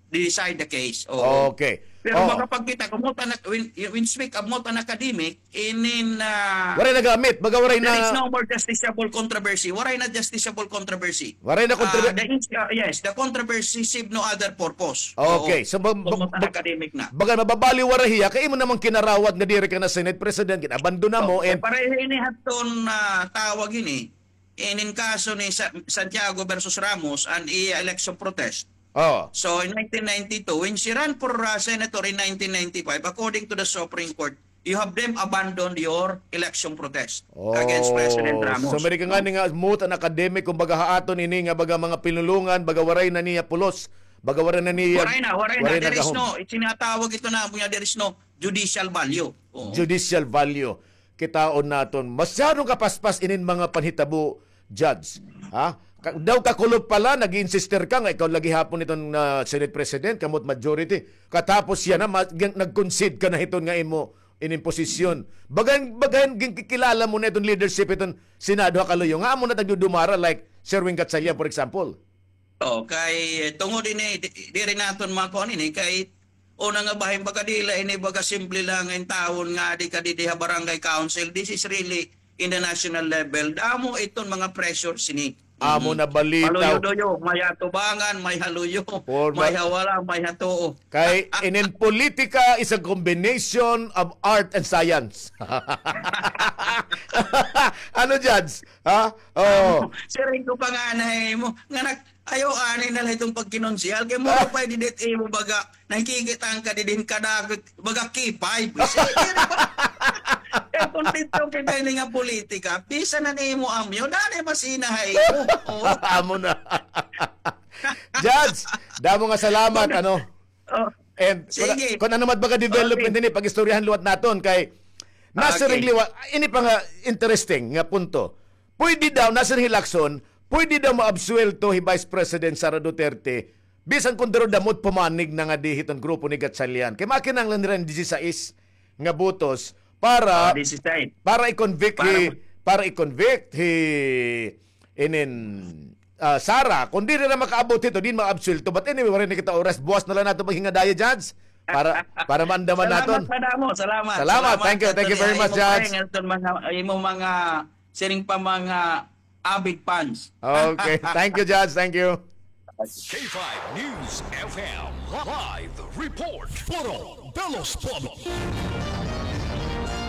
decide the case. Oo. Okay. Pero makapagkita ko, moot and, when, when speak of moot and academic, inin, ah, waray nagamit, baga waray na. There is no more justiciable controversy. Waray na justiciable controversy. Waray na controver- Ah, the ins- ah, yes, the controversy serve no other purpose. Okay, oo. So, ba- ba- moot and academic na. Baga mababaliwara hiya, kay imo naman kinarawat nga diri ka na Senate President, gin-abandona mo, and pareho ini hadton, ah, tawag ini. Inin kaso ni Sa- Santiago versus Ramos, an iya election protest. Oh. So, in nineteen ninety-two, when she ran for, uh, senator in nineteen ninety-five, according to the Supreme Court, you have them abandon your election protest against President Ramos. So, may ka ngani nga moot and academic, kumbaga ha aton ini nga baga mga pinulongan, baga waray na niya pulos, baga waray na niya, waray na, waray na. There is no, itinatawag ito na, there is no judicial value. Oo. Judicial value. Kitaon naton, masyadong kapaspas inin mga panhitabo, Judge. Ha? Ka- daw kakulop pa la, nag-insister ka nga ikaw la gihapon iton, ah, Senate President, kamo it majority. Katapos yana, ma- gan- nag-concede ka na hiton nga imo inin posisyon. Bagan, bagan, ginkikilala mo na iton leadership iton Senado ha kaluyo. Nga amo na tagdudumara, like Sherwin Gatchalian, for example. Oh, kay, eh, tungod ini, di- diri naton makuan ini, kay una nga bahin, baga diri la ini, baga simple la nga intawon nga adi ka didi ha barangay council. This is really in the national level. Damo iton mga pressure sini. Amo na balita. Maluyo-luyo, may ha tubangan, may ha luyo, may ha wala, may ha tuo. Kay inin politika is a combination of art and science. Ano, Judge? Ha? Oh. Siring ko pa nga na imo, nga nag- Ayaw ani na la iton pagkinonsehal. Kay mura pa didi it imo baga, nakikita ka didi hin kadako, baga K five. Kay kontento kita ini nga politika, bisan an imo amyo, dani masina ha imo. Oo. Amo na. Judge, damo nga salamat, ano? Oh. And kun, sige, kun ano man baga development ini, pag-istoryahan liwat naton kay nasiring liwat, ini pa nga interesting nga punto. Pwede daw, nasiring hi Lacson, pwede daw maabsuwelto hi Vice President Sara Duterte, bisan kon duro damo it pumanig na ngadi hiton grupo ni Gatchalian. Kay makinahanglan nira hin disisais nga botos para, para i-convict hi, para i-convict hi inin, ah, Sara, kon diri na makaabot hito, diri makaabsuwelto. But anyway, waray na kita oras. Buwas na la naton paghingadaya, Judge. Para, para maandaman naton. Salamat, madamo. Salamat. Salamat. Thank you. Thank you very much, Judge. Salamat, Anthony. Imo mga, imo mga, siring pa, mga avid fans. Okay. Thank you, Judge. Thank you. K five News F M live report. Puro pelos todo.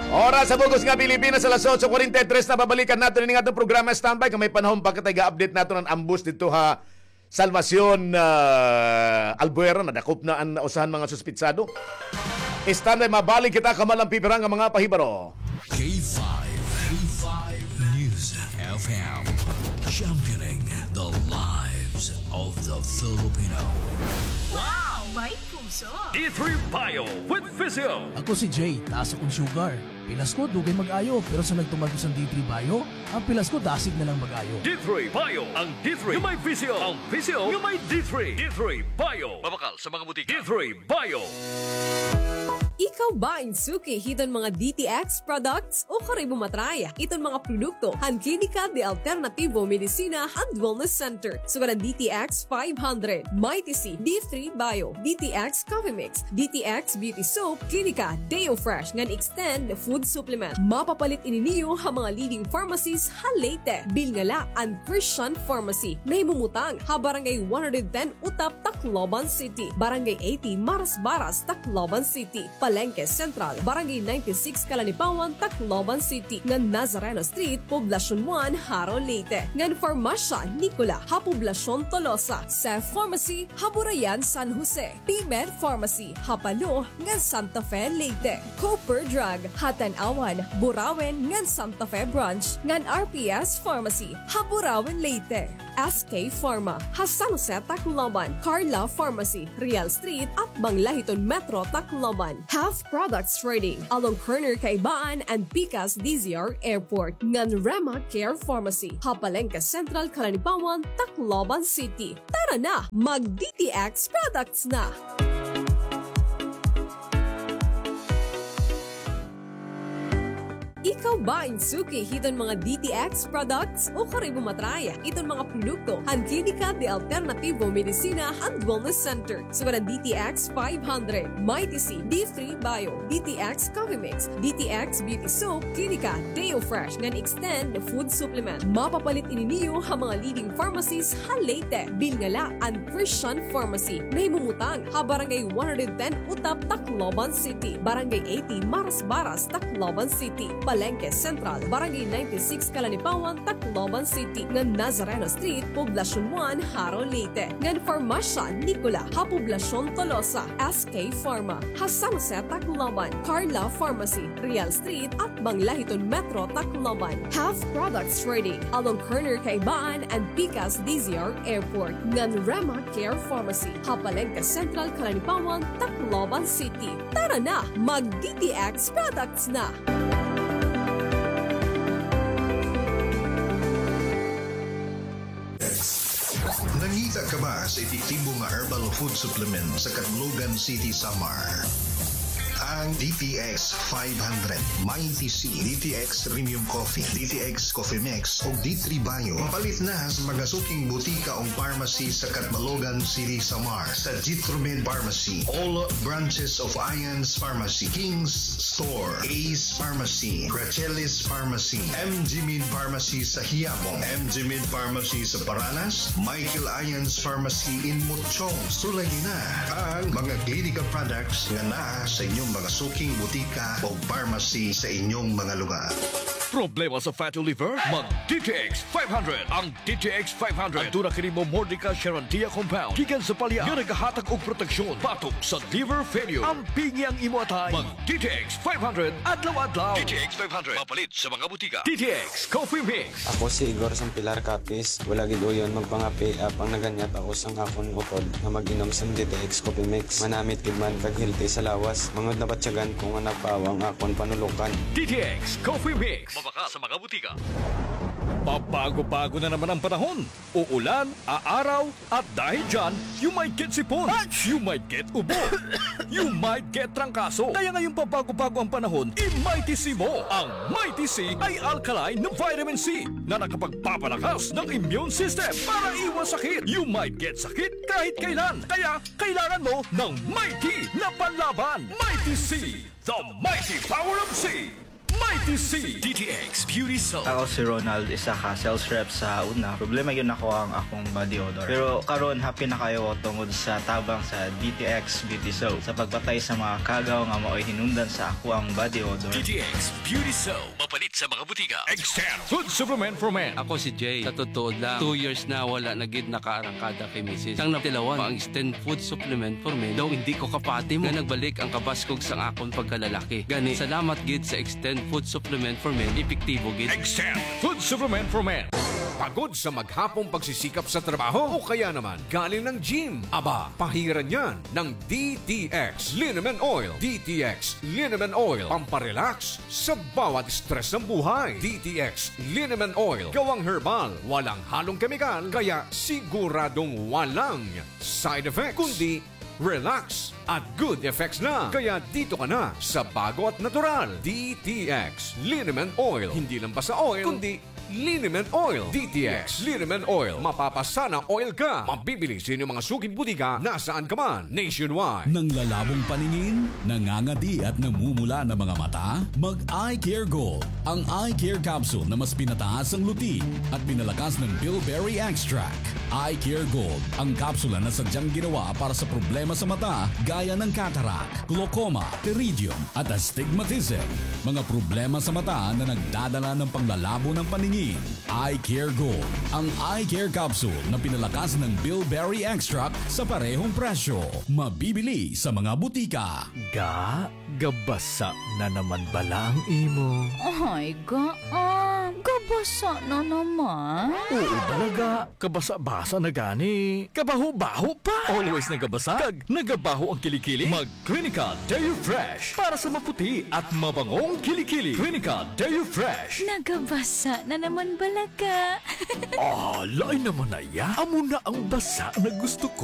Oras sa bug-os nga Pilipinas, alas otso kuwarenta y tres na. Babalikan naton ini nga aton programa. Standby kay may panahon pa kita, iga-update naton an ambos didto ha Salvacion, ah, Albuera. Nadakop na an usa han mga suspitsado. Standby, mabalik kita kamalampipiran nga mga pahibaro. K five, K five News F M, championing the lives of the Filipino. Wow! May puso! D three Bio with Physio. Ako si Jay, taas akon sugar. Pilas ko, dugay mag-ayo, pero sa nagtuman ko san D three Bio, an pilas ko dasig na lang mag-ayo. D three Bio, ang D three nga may Physio, ang Physio nga may D three. D three Bio. Mabakal sa mga butika. D three Bio. Ikaw ba in suki hiton mga D T X products? O kari mo matry iton mga produkto han Klinika de Alternativo Medicina and Wellness Center? Sugad an D T X five hundred, Mighty C, D three Bio, D T X Coffee Mix, D T X Beauty Soap, Klinika Deo Fresh ngan Extend Food Supplement. Mapapalit ini niyo ha mga leading pharmacies ha Leyte. Bilngala an Christian Pharmacy. Nahimumutang ha Barangay one hundred ten Utap, Tacloban City. Barangay eighty Marasbaras, Tacloban City. Palengke Central, Barangay ninety-six Calanipawan, Tacloban City. Ngan Nazareno Street, Poblacion one, Jaro, Leyte. Ngan Farmasya Nicola ha Poblacion Tolosa. Seth Pharmacy ha Burayan, San Jose. P-Med Pharmacy ha Palo ngan Santa Fe, Leyte. Cooper Drug ha Tanauan, Burauen ngan Santa Fe Branch, ngan R P S Pharmacy ha Burauen, Leyte. S K Pharma ha San Jose, Tacloban. Carla Pharmacy, Real Street, atbang la hiton Metro Tacloban. Half Products Trading along corner Kaibaan and Pikas D Z R Airport. Ngan Rema Care Pharmacy ha Palengke Central, Calanipawan, Tacloban City. Tara na, mag D T X products na! Ikaw ba in suki hiton mga D T X products? Ukon imo ma-try iton mga produkto han Klinika de Alternativo Medicina and Wellness Center? Sugad an D T X five hundred, Mighty C, D three Bio, D T X Coffee Mix, D T X Beauty Soap, Klinika Deo Fresh, ngan Extend Food Supplement. Mapapalit ini niyo ha mga leading pharmacies ha Leyte. Bilngala an Christian Pharmacy. Nahimumutang ha Barangay one hundred ten Utap, Tacloban City. Barangay eighty Marasbaras, Tacloban City. Palengke Central, Barangay ninety-six Calanipawan, Tacloban City. Ngan Nazareno Street, Poblacion one, Jaro, Leyte. Ngan Farmasya Nicola ha Poblacion Tolosa. S K Pharma ha San Jose, Tacloban. Carla Pharmacy, Real Street, atbang la hiton Metro Tacloban. Half Products Trading along corner Kaibaan and Pikas D Z R Airport. Ngan Rema Care Pharmacy ha Palengke Central, Calanipawan, Tacloban City. Tara na, mag D T X products na! Nangita ka ba sa epektibo nga herbal food supplement sa Catbalogan City, Samar? Ang D T X five hundred, Mighty C, D T X Premium Coffee, D T X Coffee Mix, ug D three Bio. Mapalit na sa mga suking butika ug pharmacy sa Catbalogan City, Samar, sa Jitromed Pharmacy, all branches of Ions Pharmacy, King's Store, Ace Pharmacy, Gracelis Pharmacy, M G Med Pharmacy sa Quiapo, M G Med Pharmacy sa Paranas, Michael Ions Pharmacy in Mochong. Sulayi na ang mga Klinika products nga naa sa inyong mga suking butika o pharmacy sa inyong mga lugar. Problema sa fatty liver? Mag D T X five hundred. Ang D T X five hundred. Aduna kini Momordica charantia compound gikan sa palya nga nagahatag og proteksyon batok sa liver failure. Ampingi ang imo atay. Mag D T X five hundred adlaw-adlaw. D T X five hundred, mapalit sa mga butika. D T X Coffee Mix. Ako si Igor sang Pilar Capiz. Wala gid uyon magpangape, apang naganyat ako sang akon utod nga mag-inom sang D T X Coffee Mix. Manamit gid man kag healthy sa lawas. Mangud nabatyagan ko nga nagpaawa ang akon panulokan. D T X Coffee Mix. Mabakal sa mga butika. Pabago-bago na naman ang panahon. Uulan, aaraw, at dahil dyan, you might get sipon, you might get ubo, you might get trangkaso. Kaya ngayong pabago-bago ang panahon, i-Mighty C mo. Ang Mighty C ay alkaline na vitamin C na nakapagpapalakas ng immune system para iwas sakit. You might get sakit kahit kailan. Kaya kailangan mo ng Mighty na panlaban. Mighty C, the mighty power of C. Mighty C. D T X Beauty Soap. Ako si Ronald, isa ka sales rep sa una. Problema gyud nako ang akong body odor. Pero karon, happy na kaayo ko tungod sa tabang sa D T X Beauty Soap sa pagpatay sa mga kagaw nga maoy hinungdan sa ako ang body odor. D T X Beauty Soap. Mapalit sa mga butika. Extend Food Supplement for Men. Ako si Jay. Sa totoo lang, two years na wala na gid nakaarangkada kay misis. Sang natilawan pa ang Extend Food Supplement for Men, daw indi ko kapati mo nga nagbalik ang kabaskog sang akon pagkalalaki. Gani, salamat gid sa Extend Food Supplement for Men, epektibo gid. Extend Food Supplement for Men. Pagod sa maghapong pagsisikap sa trabaho o kaya naman galing ng gym? Aba, pahiran yan ng D T X Liniment Oil. D T X Liniment Oil, pamparelax sa bawat stress ng buhay. D T X Liniment Oil, gawang herbal, walang halong kemikal, kaya siguradong walang side effects, kundi relax, at good effects na. Kaya dito ka na sa bago at natural, D T X Liniment Oil. Hindi lang basta oil, kundi Liniment Oil. D T X Liniment Oil. Mapapasana oil ka. Mabibili sa inyong mga suking butika nasaan ka man, nationwide. Nanglalabong paningin, nangangadi at namumula na mga mata? Mag Eye Care Gold, ang eye care capsule na mas pinataas ang luti at pinalakas ng bilberry extract. Eye Care Gold, ang kapsula na sadyang ginawa para sa problema sa mata gaya ng cataract, glaucoma, pterygium, at astigmatism. Mga problema sa mata na nagdadala ng panglalabo ng paningin. Eye Care Gold, ang eye care capsule na pinalakas ng bilberry extract sa parehong presyo. Mabibili sa mga butika. Ga, gabasa na naman bala ang imo? Ay, ga, ah, gabasa na naman. Oo bala, ga. Kabasa-basa na gani. Kabaho-baho pa. Always nagabasa, kag nagabaho ang kilikili. Mag Clinica Deo Fresh para sa maputi at mabangong kilikili. Clinica Deo Fresh. Nagabasa na naman bala, ga. Ah, lain naman na iya. Amo na ang basa na gusto ko.